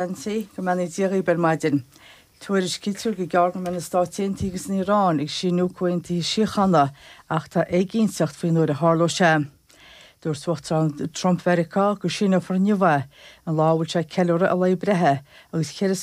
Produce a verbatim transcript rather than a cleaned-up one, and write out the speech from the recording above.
Nancy go mbeannaí Dia dhaoibh ar maidin. Tuairiscítear gur gearr go mbeidh na Stáit Aontaithe agus an Iaráin ag síniú comhaontaithe síochána ach tá éiginnteacht faoin uair a tharlóidh sé. Dúirt Uachtarán Trump Mheiriceá go síneofar inniu é an lá bhfuil sé ceiliúradh a lae breithe agus ceithre